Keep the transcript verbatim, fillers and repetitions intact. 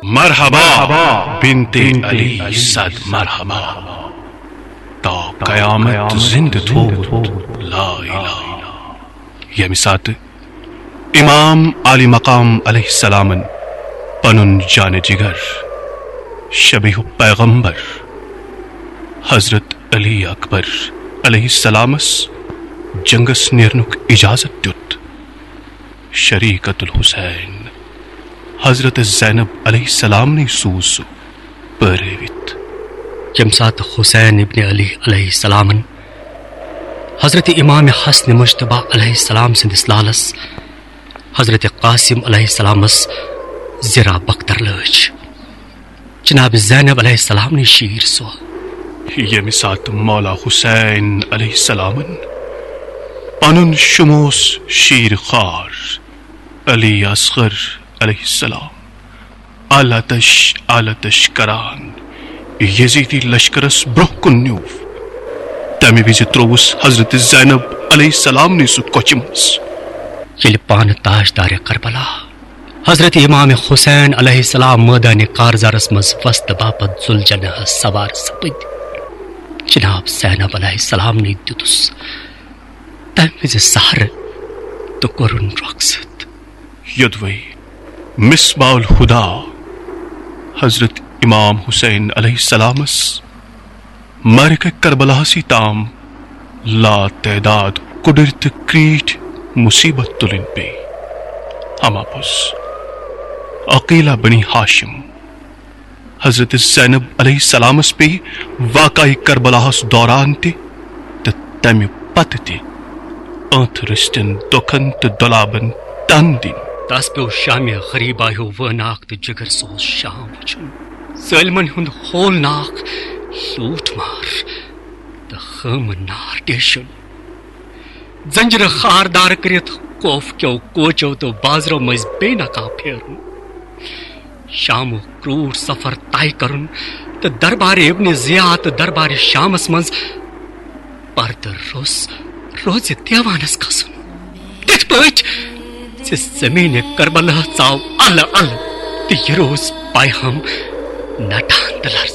مرحبا بنت علی، صد مرحبا۔ تا قیامت زندٕ تھوٚومُت، لا الہ۔ ییٚمہِ ساتہٕ امام عالی مقام علیہ السلامن پنُن جان جگر، شبیہ پیغمبر حضرت علی اکبر علیہ السلامس جنگس نیرنُک اجازت دیُت، شریکت الحسین حضرت زینب علیہ السلامنٕے سوٗز سُہ پٲرٲوِتھ۔ ییٚمہِ ساتہٕ حسین ابن علی علیہ السلامن حضرت امام حسن مجتبیٰ علیہ السلام سٕنٛدِس لالس حضرت قاسم علیہ السلامس زِرا بختر لٲج، جناب زینب علیہ السلامنٕے شیٖر سۄ۔ ییٚمہِ ساتہٕ مولا حسین علیہ السلامن پنُن شموس شیٖر خار علی اصغر علیہ السلام آلتش آلتش کران یزیدی لشکرس برونٛہہ کُن نیوٗ، تمہِ وِزِ ترووُس حضرت زینب علیہ السلامنٕے سُہ کۄچہِ منٛز۔ ییٚلہِ پانہٕ تاجدار کربلا حضرت امام حسین علیہ السلام مٲدانِ کارزارس منٛز وستہٕ باپتھ ذوالجناحس سوار سپٕدۍ، جناب زینب علیہ السلامنٕے دیُتُس تمہِ وِزِ سہرٕ تہٕ کوٚرُن رۄخصت۔ یوٚدوَے مصباح الہدیٰ حضرت امام حسین علیہ السلامس معرکہ کربلاہسٕے تام لا تعداد کُڑٕرۍ تہٕ کریٖٹھۍ مصیبت تُلٕنۍ پیٚیہِ۔ ہما پوٚز، عقیلہ بنی ہاشم حضرت زینب علیہ السلامس پیٚیہِ واقعہ کربلاہس دوران تہِ تہٕ تمہِ پتہٕ تہِ ٲنتھ رٔستٮ۪ن دۄکھن تہٕ دۄلابن تن دِنۍ۔ تس پیوٚو شامِ غریبا ہیوٗ وٲناکھ تہٕ جگر سوز شام وٕچھُن۔ ظٲلمن ہُنٛد ہولناک لوٗٹھ مار تہٕ خٲمہٕ نار ڈیشُن۔ زنجیرٕ خاردار کٔرِتھ خوف کیو کوچو تہٕ بازرو مٔنٛزۍ بے نقاب پھیرُن۔ شامُک کرٛوٗٹھ سفر طے کرُن تہٕ دربار ابن ضیاء تہٕ دربار شامس منٛز پردٕ روٚس روزِ دیوانس کھسُن۔ تِتھ پٲٹھۍ زِ زمین کربلا ژاو الہٕ الہٕ تہٕ یہِ روز پیغام نٹان تہٕ لرزان۔